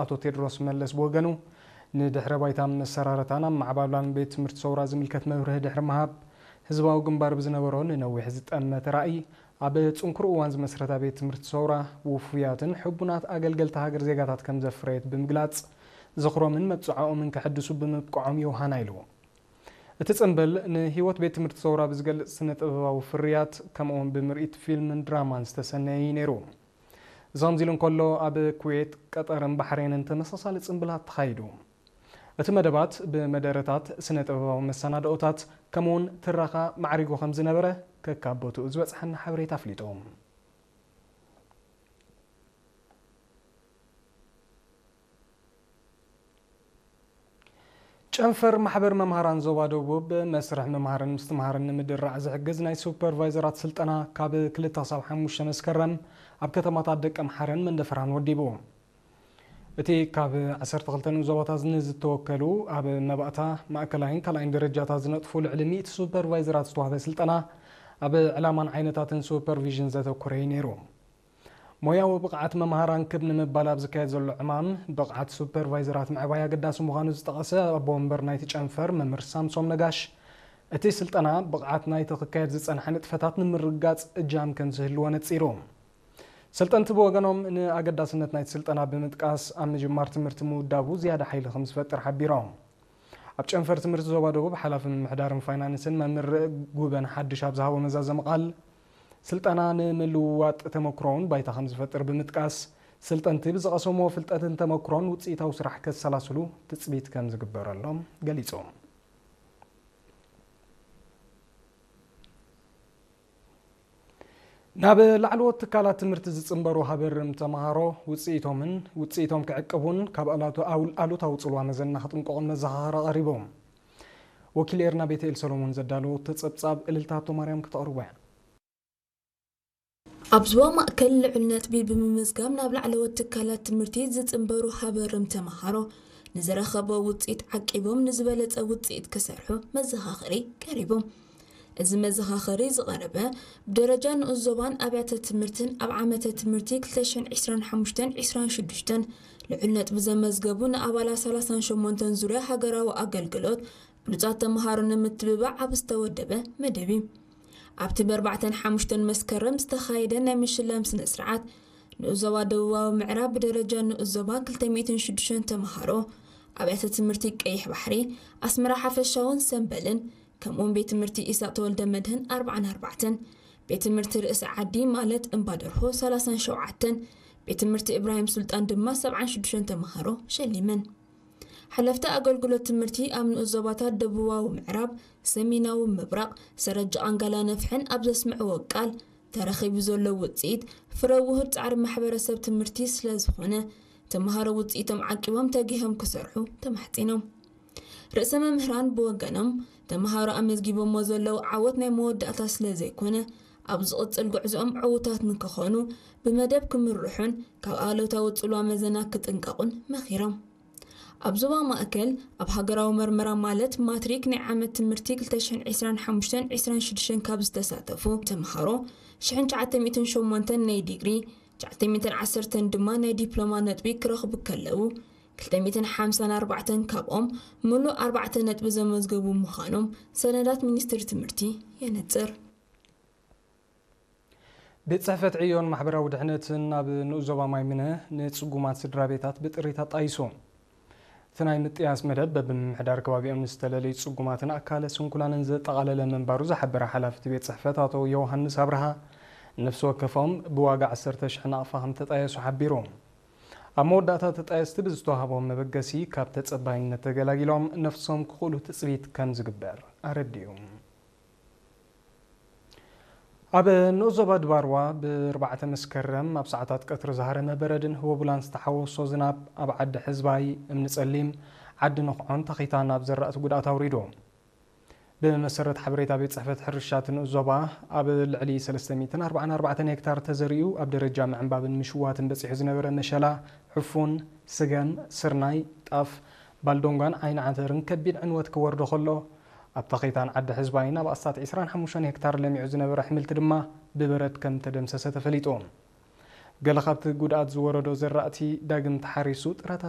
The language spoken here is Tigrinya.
ኣቶ ቴድሮስ መለስ ብወገኑ፣ ንድሕረ ባይታን መሰራረታን ኣመዓባብላን ቤት ትምህርቲ ሰውራ ዝምልከት መብርሂ ድሕሪ ምሃብ፣ ህዝባዊ ግንባር ብዝነበሮ ንነዊሕ ዝጠመተ ራእይ፣ ኣብ ጽንኩር እዋን ዝመስረታ ቤት ትምህርቲ ሰውራ፣ ውፉያትን ሕቡናት ኣገልገልቲ ሃገር ዜጋታት ከም ዘፍረየት ብምግላጽ፣ ዝኽሮምን መብጽዓኦምን ከሐድሱ ብምብቅዖም የውሃና ኢሉ። እቲ ጽምብል ንህይወት ቤት ትምህርቲ ሰውራ ብዝገልጽ ስነ-ጥበባዊ ፍርያት፣ ከምኡውን ብምርኢት ፊልምን ድራማን ዝተሰነየ እዩ ነይሩ። እዚ ከምዚ ኢሉ እንከሎ፣ ኣብ ኩዌት፣ ቀጠርን ባሕሬንን ተመሳሳሊ ጽምብላት ተኻይዱ። እቲ መደባት ብመደረታት፣ ስነ-ጥበባዊ መሰናድኦታት፣ ከምኡውን ትረኻ ማዕሪጉ ከም ዝነበረ ከካብ ቦትኡ ዝበጽሐና ሓበሬታ ኣፍሊጡ። ጨንፈር ማሕበር መምሃራን ዞባ ደቡብ መስርሕ ምምሃርን ምስትምሃርን ንምድራዕ ዝሕግዝ ናይ ሱፐርቫይዘራት ስልጠና ካብ ክልተ ክሳብ ሓሙሽተ መስከረም ኣብ ከተማታት ደቀምሓረን መንደፈራን ወዲቡ። እቲ ካብ ዓሰርተ ክልተ ንኡስ ዞባታት ንዝተወከሉ ኣብ መባእታ፣ ማእከላይን ካልኣይን ደረጃታት ዝነጥፉ ልዕሊ ሚእቲ ሱፐርቫይዘራት ዝተዋህበ ስልጠና ኣብ ዕላማን ዓይነታትን ሱፐርቪዥን ዘተኮረ እዩ ነይሩ። ሞያዊ ብቕዓት መምሃራን ክብ ንምባል ኣብ ዝካየድ ዘሎ ዕማም፣ ብቕዓት ሱፐርቫይዘራት ምዕባይ ኣገዳሲ ምዃኑ ዝጠቐሰ ኣቦ ወንበር ናይቲ ጨንፈር መምህር ሳምሶም ነጋሽ፣ እቲ ስልጠና ብቕዓት ናይቲ ክካየድ ዝጸንሐ ንጥፈታት ንምርግጋጽ እጃም ከም ዝህልዎ ነጺሩ። ሰልጠንቲ ብወገኖም ንኣገዳስነት ናይቲ ስልጠና ብምጥቃስ፣ ኣብ ምጅማር ትምህርቲ ምውዳቡ ዝያዳ ሓይሊ ከም ዝፈጥር ሓቢሮም። ኣብ ጨንፈር ትምህርቲ ዞባ ደቡብ ሓላፊ ምምሕዳርን ፋይናንስን መምህር ጉበን ሓድሽ ኣብ ዝሃቦ መዛዘሚ ቃል፣ ስልጠና ንምልውዋጥ ተመክሮውን ባይታ ከም ዝፈጥር ብምጥቃስ፣ ስልጠንቲ ብዝቐሰምዎ ፍልጠትን ተመክሮን ውፅኢታዊ ስራሕ ከሰላስሉ ትፅቢት ከም ዝግበረሎም ገሊጾም። ናብ ላዕለዎት ትካላት ትምህርቲ ዝጽንበሩ ሃበርም ተምሃሮ ውጽኢቶምን ውጽኢቶም ክዕቅቡን ካብ ኣላቶ-፣ ኣውል-፣ ኣሉታዊ ጽልዋ መዘና ክጥንቀቑን መዘኻኸሪ ቀሪቦም። ወኪል ኤርና ቤተኤል ሰሎሞን ዘዳለዎ ተጸብጻብ እልልታ ሃብተማርያም ክተቕርቦ እያ። ኣብ ዞባ ማእከል ልዑል ነጥቢ ብምምዝጋብ ናብ ላዕለዎት ትካላት ትምህርቲ ዝጽንበሩ ሃበርም ተምሃሮ ንዝረኸቦ ውጽኢት ዓቂቦም ንዝበለጸ ውጽኢት ክሰርሑ መዘኻኸሪ ቀሪቡ። እዚ መዘኻኸሪ ዝቐረበ ብደረጃ ንኡስ ዞባን ኣብያተ ትምህርትን ኣብ ዓመተ ትምህርቲ ክልተ ሽሕን ዕስራን ሓሙሽተን ዕስራን ሽዱሽተን ልዑል ነጥቢ ዘመዝገቡ ንኣባላት ሰላሳን ሸሞንተን ዙርያ ሃገራዊ ኣገልግሎት ብሉጻት ተምሃሮ ንምትብባዕ ኣብ ዝተወደበ መደብ እዩ። ኣብቲ ብኣርባዕተን ሓሙሽተን መስከረም ዝተኻየደ ናይ ምሽላም ስነ ስርዓት፣ ንኡስ ዞባ ደቡባዊ ምዕራብ ብደረጃ ንኡስ ዞባ ክልተ ሚእትን ሽዱሽተን ተምሃሮ፣ ኣብያተ ትምህርቲ ቀይሕ ባሕሪ፣ ኣስመራ ሓፈሻውን ሰምበልን፣ ከምኡውን ቤት ትምህርቲ ኢሳቕ ተወልደ መድህን ኣርባዓን ኣርባዕተን፣ ቤት ትምህርቲ ርእሲ ዓዲ ማለት እምባደርሆ ሰላሳን ሸውዓተን፣ ቤት ትምህርቲ እብራሂም ሱልጣን ድማ ሰብዓን ሽዱሽተን ተምሃሮ ሸሊመን። ሓለፍቲ ኣገልግሎት ትምህርቲ ኣብ ንኡስ ዞባታት ደቡባዊ ምዕራብ፣ ሰሜናዊ ምብራቕ፣ ሰረጅ ቃንጋላ ነፍሕን ኣብ ዘስምዕዎ ቃል፣ ተረኺቡ ዘሎ ውጽኢት ፍረ ውሁድ ጻዕሪ ማሕበረሰብ ትምህርቲ ስለ ዝኾነ፣ ተምሃሮ ውጽኢቶም ዓቂቦም ተጊሆም ክሰርሑ ተማሕጺኖም። ርእሰ መምህራን ብወገኖም፣ ተምሃሮ ኣመዝጊቦሞ ዘለዉ ዓወት ናይ መወዳእታ ስለ ዘይኮነ፣ ኣብ ዝቕጽል ጉዕዞኦም ዕዉታት ንክኾኑ ብመደብ ክምርሑን ካብ ኣሉታዊ ጽልዋ መዘና ክጥንቀቑን መኺሮም። ኣብ ዞባ ማእከል ኣብ ሃገራዊ መርመራ ማለት ማትሪክ ናይ ዓመት ትምህርቲ ክልተ ሽሕን ዕስራን ሓሙሽተን ዕስራን ሽዱሽተን ካብ ዝተሳተፉ ተምሃሮ ሽሕን ትሽዓተ ሚእትን ሸሞንተን ናይ ዲግሪ፣ ትሽዓተ ሚእትን ዓሰርተን ድማ ናይ ዲፕሎማ ነጥቢ ክረኽቡ ከለዉ፣ ክልተ ሚእትን ሓምሳን ኣርባዕተን ካብኦም ምሉእ ኣርባዕተ ነጥቢ ዘመዝገቡ ምዃኖም ሰነዳት ሚኒስትሪ ትምህርቲ የነጽር። ቤት ጽሕፈት ዕዮን ማሕበራዊ ድሕነትን ኣብ ንኡስ ዞባ ማይምነ ንጽጉማት ስድራ ቤታት ብጥሪት ኣጣይሱ። እቲ ናይ ምጥያስ መደብ በብምምሕዳር ከባቢኦም ንዝተለለዩ ጽጉማትን ኣካለ ስንኩላንን ዘጠቓለለ ምንባሩ ዝሓበረ ሓላፊ እቲ ቤት ጽሕፈት ኣቶ ዮሃንስ ኣብርሃ፣ ነፍሲ ወከፎም ብዋጋ ዓሰርተ ሽሕ ናቕፋ ከም ተጣየሱ ሓቢሩ። ኣብ መወዳእታ ተጣየስቲ ብዝተዋህቦም መበገሲ ካብ ተጸባይነት ተገላጊሎም ነፍሶም ክኽእሉ ትጽቢት ከም ዝግበር ኣረዲኡ። ኣብ ንኡስ ዞባ ድባርዋ ብኣርባዕተ መስከረም ኣብ ሰዓታት ቀትሪ ዝሃረመ በረድን ህቦቡላን ዝተሓወሶ ዝናብ ኣብ ዓዲ ሕዝባይ፣ እምኒ ጸሊም፣ ዓዲ ንኽዖን ተኺታን ኣብ ዘራእቲ ጉድኣት ኣውሪዱ። ብመሰረት ሓበሬታ ቤት ጽሕፈት ሕርሻ እቲ ንኡስ ዞባ፣ ኣብ ልዕሊ ሰለስተ ሚእትን ኣርባዓን ኣርባዕተን ሄክታር ተዘሪኡ ኣብ ደረጃ ምዕንባብን ምሽዋትን በጺሑ ዝነበረ መሸላ፣ ዕፉን፣ ስገም፣ ስርናይ፣ ጣፍ፣ ባልዶንጓን ዓይኒ ዓተርን ከቢድ ዕንወት ክወርዶ ከሎ፣ ኣብ ተኺታን ዓዲ ሕዝባይን ኣብ ኣስታት ዕስራን ሓሙሽተን ሄክታር ለሚዑ ዝነበረ ኣሕምልቲ ድማ ብበረድ ከም ተደምሰሰ ተፈሊጡ። ገለ ካብቲ ጉድኣት ዝወረዶ ዘራእቲ ዳግም ተሓሪሱ ጥረታት